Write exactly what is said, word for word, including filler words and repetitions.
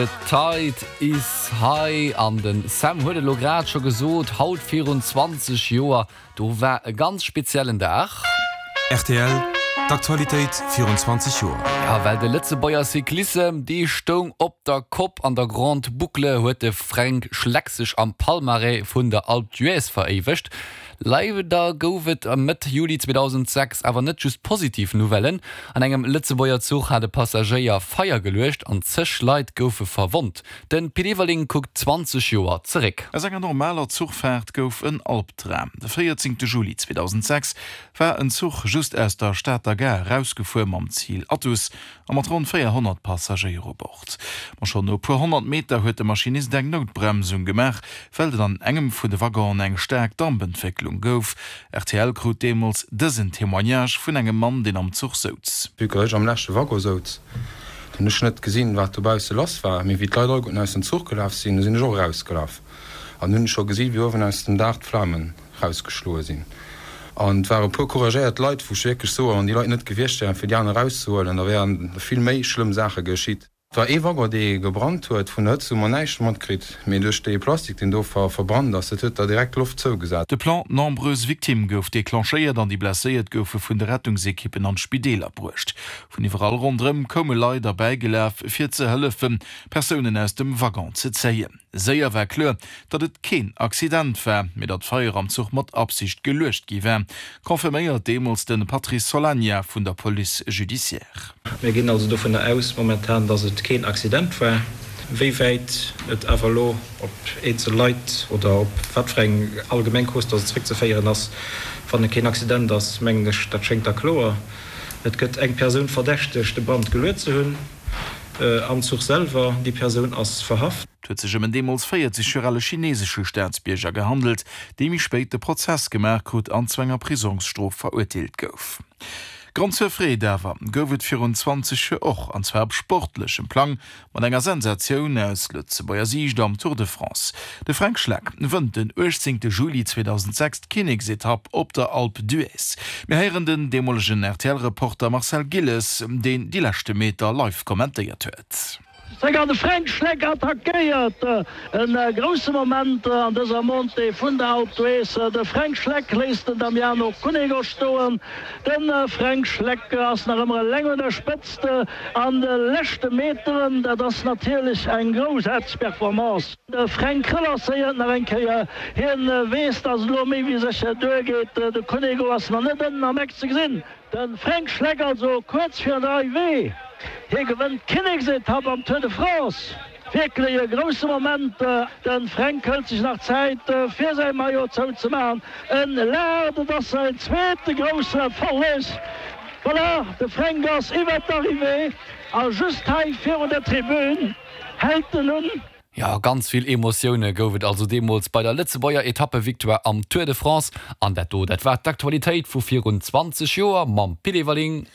The Tide is High an den Sam huet elo grad scho gesot, haut virun zwanzeg Joer, do war e ganz speziellen Dag. R T L, d'Aktualitéit virun zwanzeg Joer. Ja, well de Lëtzebuerger Cyclissem, dee stoung op der Kopp. An der Grande Boucle huet de Fränk Schleck sech am Palmarès vun der Alpe d'Huez veréiwegt. Leider gouf et Mëtt Juli zweedausendsechs awer net just positiv Nouvellen. An engem Lëtzebuerger Zuch hat e Passagéier Feier geluecht an zeg Leit goufe verwonnt. De Pit Everling kuckt zwanzeg Joer zeréck. Aus enger normaler Zuchfaart gouf en Albdram. De véierzéngte Juli zweedausendsechs war en Zuch just aus der Stater Gare erausgefuer mam Zil Athus a mat ronn véierhonnert Passagéier u Bord. Ma schonn no e puer honnert Meter huet de Maschinist eng Noutbremsung gemaach, well et an engem vun de Waggonen eng staark Dampentwécklung gouf. R T L krut deemools dësen Témoignage vun engem Mann, deen am Zuch souz. Vue que ech am leschte Waggon souz, hunn ech net gesinn, wat dobausse lass war. Mee wéi d'Leit alleguerten aus dem Zuch gelaf sinn, sinn ech och erausgelaf. An hunn scho gesinn, wéi uewen aus dem Daach d'Flamen rausgeschloe sinn. An et ware puer couragéiert Leit, wou ech wierklech soen, wann déi Leit net gewiescht wären, fir déi aner erauszehuelen, da wären vill méi schlëmm Saache geschitt. Et war ee Waggon, dee gebrannt huet. Vun der Hëtzt hu mer näischt matkritt, mee duerch dee Plastik, deen do verbrannt ass, dat huet da direkt d'Loft zougesat. De Plan Nombreuses victimes gouf declenchéiert an déi Blesséiert goufe vun de Rettungsekippen an d'Spideeler bruecht. Vun iwwerall ronderëm koume Leit erbäigelaf, fir ze hëllefen, Persounen aus dem Waggon ze zéien. Séier war kloer, datt et keen Accident war, mee datt d'Feier am Zuch mat Absicht geluecht gi war, confirméiert deemools de Patrice Solagna vun der Police judiciaire. Mir ginn also dovunner aus momentan, datt et keen Accident war. Wéi wäit et awer elo op eenzel Leit oder op wat fir eng allgemeng Cause datt et zeréckzeféieren ass, wann et keen Accident ass, mengen ech, dat schéngt da kloer. Et gëtt eng Persoun verdächtegt, de Brand geluet ze hunn am Zuch selwer. Déi Persoun ass verhaft. Et huet sech ëm en deemools véierzeg Joer ale chinesesche Staatsbierger gehandelt, dee méi spéit de Prozess gemaach krut an zu enger Prisongsstrof verurteelt gouf. Grond zur Freed awer gouf et virun zwanzeg Joer och, an zwar op sportlechem Plang, mat enger Sensatioun aus Lëtzebuerger Siicht am Tour de France. De Fränk Schleck wënnt den uechtzéngte Juli zweedausendsechs d'Kinneksetapp op der Alpe d'Huez. Mir héieren den deemolegen R T L-Reporter Marcel Gilles, deen déi leschte Meter live kommentéiert huet. Zegar de Fränk Schleck attackéiert, e grousse Moment an dëser Montée vun der Alpe d'Huez. De Fränk Schleck léisst den Damiano Cunego stoen. De Fränk Schleck ass nach ëmmer eleng un der Spëtzt an de leschte Meteren. Dat ass natierlech eng groussaarteg Performance. De Fränk relancéiert nach eng Kéier, hien weess, dass et elo méi wéi sécher duergeet. De Cunego ass nach net ënnen am Eck ze gesinn. De Fränk Schleck also kuerz virun der Arrivée. Hie gewënnt d'Kinneksetapp am Tour de France. Wierklech e grousse Moment. De Fränk hëlt sech nach Zäit fir säi Maillot zouzemaachen. En laacht, et ass säin zweete groussen Erfolleg. Voilà, de Fränk ass iwwert d'Arrivée a just hei virun der Tribün hält en un. Ja, ganz vill Emotioune gouf et also deemools bei der Lëtzebuerger Etappevictoire am Tour de France. An dat do, dat war d'Aktualitéit vu virun zwanzeg Joer mam Pit Everling.